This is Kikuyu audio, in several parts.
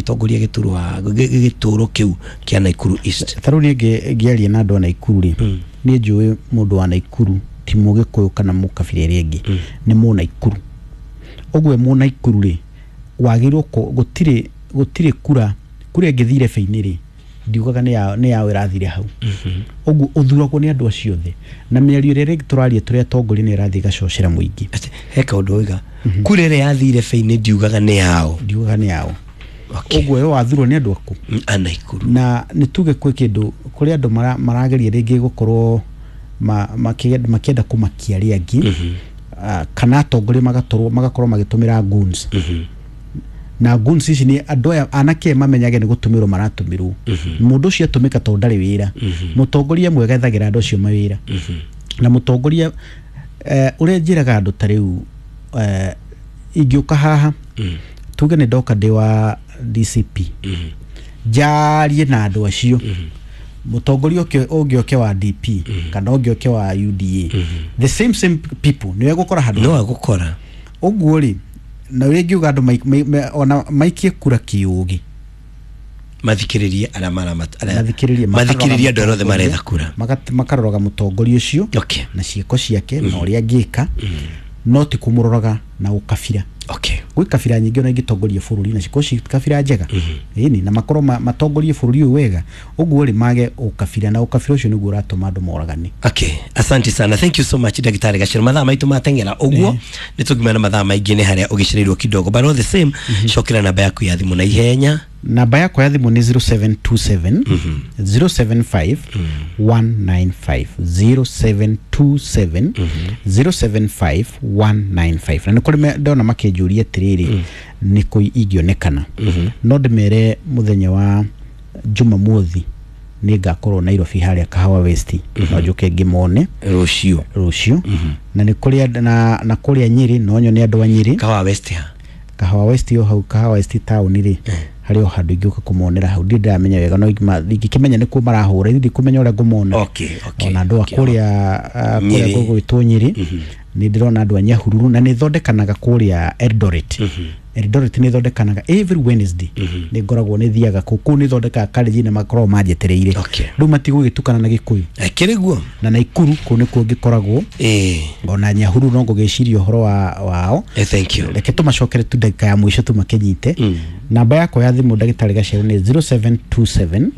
ũgĩtongoria gĩturwa gĩtũro kĩu kĩa Nakuru East. Ta rĩu niĩ ngĩaria na andũ a Naikuru rĩ, niĩ njũĩ mũndũ wa Naikuru ti mũgĩkũyũ kana mũkabira ĩrĩa ĩngĩ, nĩ mũnaikuru. Ũguo mũnaikuru rĩ, wagĩrĩirwo gũtirĩ kura ĩngĩthire beinĩ rĩ, ndiugaga nĩ yao ĩrathire hau. Ũguo ũthuragwo nĩ andũ acio othe, na mĩario ĩrĩa rĩngĩ tũraria tũrĩ atongoria nĩ ĩrathiĩ ĩgacocera mũingĩ. Ate, he kaũndũ waiga, kura ĩrĩa yathire beinĩ ndiugaga nĩ yao. Ndiugaga nĩ yao. Ũguo we wathurwo nĩ andũ aku. A Naikuru. Na nĩ tuge kwĩ kĩndũ kũrĩ andũ marageria rĩngĩ gũkorwo makĩenda kũmakia arĩa angĩ, kana atongoria magakorwo magĩtũmĩra goons. Na goons ici nĩ andũ aya anake mamenyage nĩ gũtũmĩrwo maratũmĩrwo. Mũndũ ũcio atũmĩka tondũ ndarĩ wĩra. Mũtongoria mwega ethagĩra andũ acio mawĩra. Na mũtongoria ũrĩa njĩraga andũ ta rĩu, ingĩũka haha tuge nĩ ndoka ndĩ wa DCP, njarie na andũ acio, mũtongoria ũngĩ oke wa DP kana ũngĩ oke wa UDA, the same people nĩwe gũkora handũ. No agũkora. Ũguo rĩ, na ũrĩa ingiuga andũ ona maikie kura kĩũgĩ, mathikĩrĩrie arĩa mathikĩrĩrie, mathikĩrĩrie andũ arĩa othe maretha kura. Makaroraga mũtongoria ũcio na ciĩko ciake na ũrĩa angĩka, no ti kũmũroraga na ũkabira. Gwĩ kabira nyingĩ ona ingĩtongoria bũrũri na cikorwo ci kabira njega, ĩni, na makorwo matongorie bũrũri ũyũ wega. Ũguo rĩ, mage ũkabira, na ũkabira ũcio nĩguo ũratũma andũ moragane. Okay, asante sana, thank you so much, Ndagĩtarĩ Gacero. Mathaa maitũ mateng'era ũguo, nĩ tũngĩmena mathaa maingĩ nĩ harĩa ũgĩcereirwo kidogo, but all the same, cokera namba yaku ya thimũ na ihenya. Namba yakwa ya thimũ nĩ 0727 075 195, 0727 075 195. Na nĩ kũrĩ ndona makĩnjũria atĩrĩrĩ, nĩ kũ ingĩonekana? No ndĩmere mũthenya wa Jumamothi nĩ ngakorwo Nairobi harĩa Kahawa West, no njũke ngĩmone. Rũciũ? Rũciũ. Na nĩ kũrĩ na kũrĩa Nyĩrĩ, no nyone andũ a Nyĩrĩ. Kahawa West ha? Kahawa West o hau Kahawa West town rĩ, harĩ o handũ ingĩũka kũmonera hau. Ndirĩ ndĩramenya wega, no ingĩkĩmenya nĩkuo marahũra, ndikũmenya ũrĩa ngũmona. Ona andũ a kũrĩa kũrĩa Nyĩrĩ. gũgwĩtwo Nyĩrĩ, nĩ ndĩrona andũ a Nyahururu, na nĩ thondekanaga kũrĩa Eldoret. Eldoret nĩ thondekanaga every Wednesday, nĩ ngoragwo nĩ thiaga kũu. Kũu nĩ thondekaga karĩnji na makoragwo manjetereire. Rĩu matigũgĩtukana na Gĩkũyũ. Kĩrĩ guo. Na Naikuru kũu nĩkuo ngĩkoragwo. Ona Nyahururu no ngũgĩciria ũhoro wao. Thank you. Reke tũmacokere tu ndagĩka ya mũico tũmakĩnyite. Namba yakwa ya thimũ, ndagĩtarĩ Gacerũ, nĩ 0727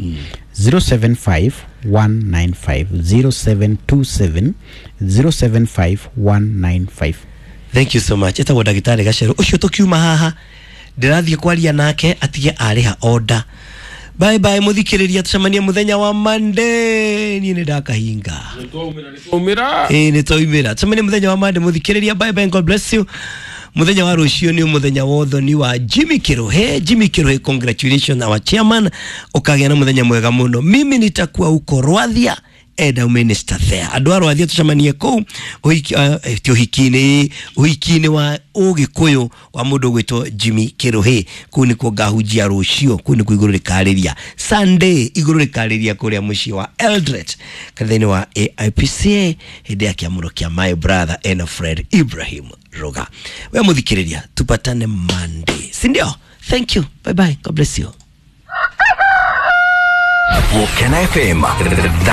075 195, 0727 075 195. Thank you so much. Etagwo Ndagĩtarĩ Gacerũ. Ũcio tũkiuma haha ndĩrathiĩ kwaria nake atige arĩha order. Bye bye, mũthikĩrĩria, tũcemanie mũthenya wa Monday. Niĩ nĩ ndakahinga. Umira. Ĩĩ, nĩ twaumĩra. Tũcemanie mũthenya wa Monday, mũthikĩrĩria. Bye bye, God bless you. Mũthenya wa rũciũ nĩ mũthenya wa ũthoni wa Jimmy Kiruhe. Jimmy Kiruhe, congratulations, our chairman, ũkagĩa na mũthenya mwega mũno. Mimi nitakuwa huko Rwathia enda minister there. Andũ a Rwathia tũcemanie kũu ũhiki, ti ũhiki-inĩ, ũhiki-inĩ wa ũgĩkũyũ wa mũndũ ũgwĩtwo Jimmy Kiruhe. Kũu nĩkuo ngahunjia rũciũ, kũu nĩkuo igũrũ rĩkarĩria Sunday, igũrũ rĩkarĩria kũrĩa mũciĩ wa Eldoret, kanitha-inĩ wa AIPCA, hĩndĩ ya kĩamũro kĩa my brother and Fred Ibrahim Ruga. We mũthikĩrĩria, tupatane Monday, si ndio? Thank you, bye bye, God bless you. Volcano FM. The